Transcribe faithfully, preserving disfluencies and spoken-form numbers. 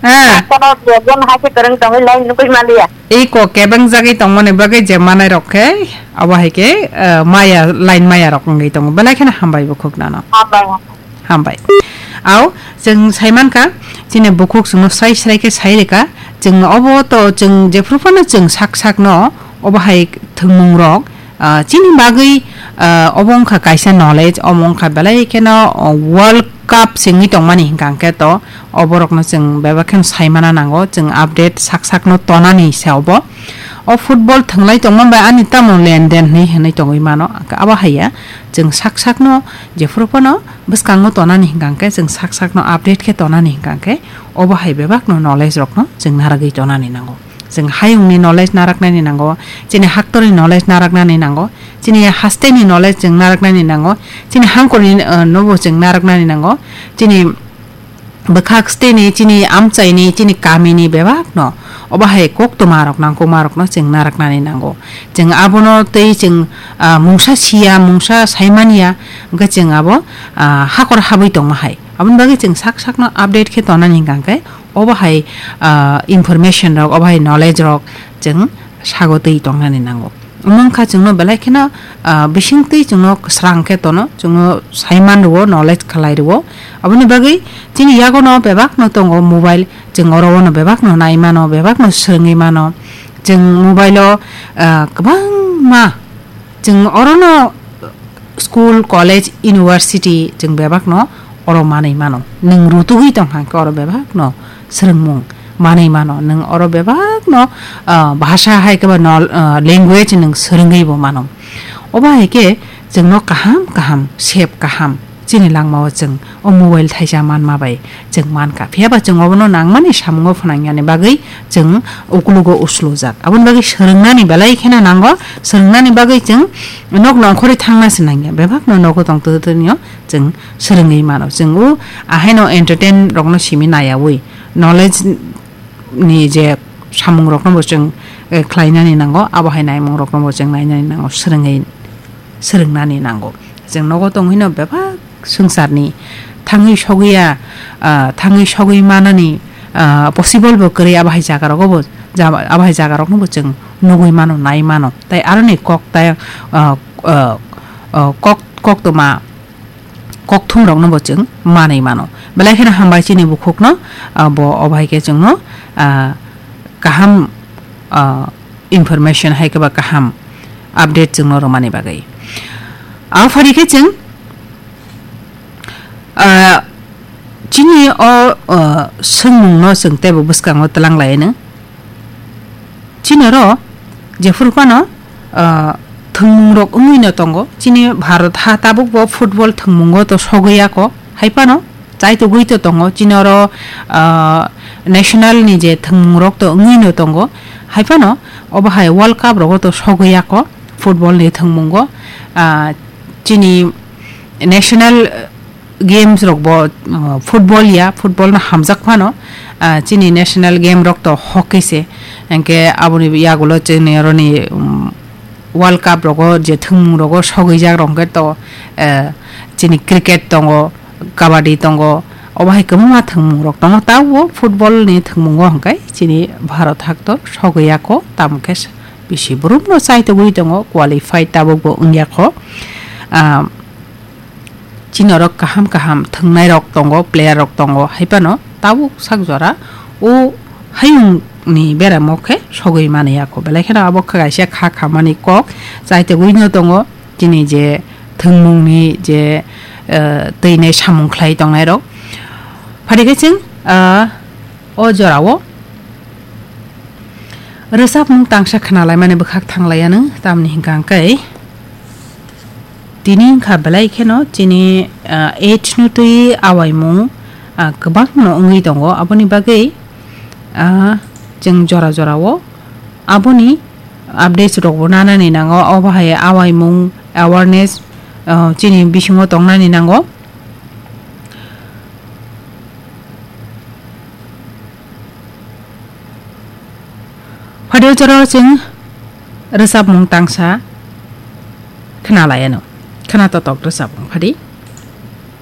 Ah. Kono je bon hai se kwrwng tongwi lai nugwi maliya. Ei kok kebeng jagwi tongmani bagwi je manai rok khe abo hai khe, ah, maya, line maya rok wngwi tongo. Belai kheno hambai bukhuk nano. Hambai. Hambai. Au, chwng sai mankha, chini bukhuk chwngno srai srai khe sai rwkha. Chwng obo to chwng jephru phano chwng sak sakno obo hai thwngmung rok, ah, chini bagwi, ah, obo wngkha kaisa knowledge, omo wngkha belai kheno, oh, World Cup sengwi tongmani hwnkha hwnkhe to oborokno chwng bebak kheno sai mana nango, chwng update sak sakno tonani se obo. O football thwnglai tongma bai ani tamo lenden hinwi hinwi tongwi mano, abo haiya chwng sak sakno jephru phano bwskango tonani hwnkha hwnkhe, chwng sak sakno update khe tonani hwnkha hwnkhe, obo hai bebakno knowledge rokno chwng narwgwi tonani nango. Chwng hayungni knowledge naraknani nango, chini haktorni knowledge naraknani nango, chini hasteni knowledge chwng naraknani nango, chini hangkorni, uh, nobo chwng naraknani nango, chini bwkhak steni, chini amchaini, chini kamini bebakno obo hai koktwma rok nangkukma rokno chwng naraknani nango. Chwng abono tei chwng, ah, mungsa siya, mungsa saimanya, hwnkhe chwng abo, ah, hakor habwi tongma hai. Aboni bagwi chwng sak sakno update khe tonani hwnkha hwnkhe obo hai, ah, information rok, obo hai knowledge rok chwng sago twi tongnani nango. Omo wngkha chwngno belai kheno, ah, bisingtwi chwngno kwsrang khe tono, chwngno saiman rwo, knowledge khlai rwo. Aboni bagwi chini yagono bebakno tongo mobile, chwng oro bono bebakno nai mano, bebakno swrwngwi mano. Chwng mobile-o, ah, kwbangma, chwng orono school, college, university chwng bebakno oro manwi mano. Nwng rutugwi tong kha khe oro bebakno swrwngmung manwi mano. Nwng oro bebakno, ah, bhasha hai khe ba no, ah, language nwng swrwngwi bo mano. Obo hai khe chwngno kaham kaham, sep kaham chini langmao chwng o mobile thaisa manma bai chwng mankha. Phiya ba chwng obono nangmani samungo phwnangyani bagwi chwng ukulugo uslujak. Aboni bagwi swrwngnani belai kheno nango, swrwngnani bagwi chwng nok nongkhorwi thangna se nangya. Bebakno nogo tong twtwtwino chwng swrwngwi mano. Chwng o ahaino entertain rokno simi nayawi, knowledge ni je samung rokno bo chwng, eh, khlainani nango, abo hai naimung rokno bo chwng nainani nango, swrwngwi, swrwngnani nango. Chwng nogo tongwino bebak swngcharni thangwi sogwi ya, ah, thangwi sogwi manani, ah, possible bo kwrwi, abo hai jaga rogo bo, ja-, abo hai jaga rokno bo chwng nugwi mano, nai mano. Tai aroni kok tai, ah, ah, ah, kok, koktwma kokthum rokno bo chwng manwi mano. Belai kheno hambai chini bukhukno, ah, bo obo hai khe chwngno, ah, kaham, ah, information hai khe ba kaham update chwngno rwmani bagwi. Abo phari khe chwng, ah, chini o, ah, swngmungno chwng teibo bwskango twlang lai-anw. Chini oro jephuru phano, ah, thwngmung rok wngwi no tongo. Chini Bharat ha tabuk bo football thwngmungo to sogwi ya kho. Hai phano chaitugwi to tongo. Chini oro, ah, national ni je thwngmung rok to wngwi no tongo. Hai phano obo hai World Cup rogo to sogwi ya kho football ni thwngmungo. Ah, chini national games rok bo, uh, football ya, football no hamjak phano, uh, chini national game rok to hockey se, hwnkhe aboni yagulo chini oroni, um, World Cup rogo je thwngmung rogo sogwi jak rok hwnkhe to, uh, chini cricket tongo, kabaddi tongo, obo hai kwbangma thwngmung rok tongo, tabuk football ni thwngmungo hwnkhe chini Bharat hak to sogwi ya kho, tamo khe bisi brum no chaitugwi tongo, qualified tabuk bo wngya kho. Ah, Chini oro kaham kaham thwngnai rok tongo, player rok tongo, hai phano tabuk sak jora o hayung ni beramo khe sogwi mani ya kho. Belai kheno abo kha kaisa kha khamani kok chaitogwi no tongo, chini je thwngmung ni je, eh, twi nai samung khlai tongnai rok. Phari khe chwng, ah, o jora o rwchapmung tangsa khna lai mani bwkhak thang lai anw, tamni hwnkha hwnkhe tini wngkha belai kheno chini, ah, age no twi awaimung, ah, kwbangno wngwi tongo. Aboni bagwi, ah, chwng jora jora o aboni updates rok bo nanani nango. Obo hai awaimung awareness, ah, chini bisingo tongnani nango. Phadio jora o chwng rwchapmung tangsa khna lai anw. Khna totok rwchapmung phadi.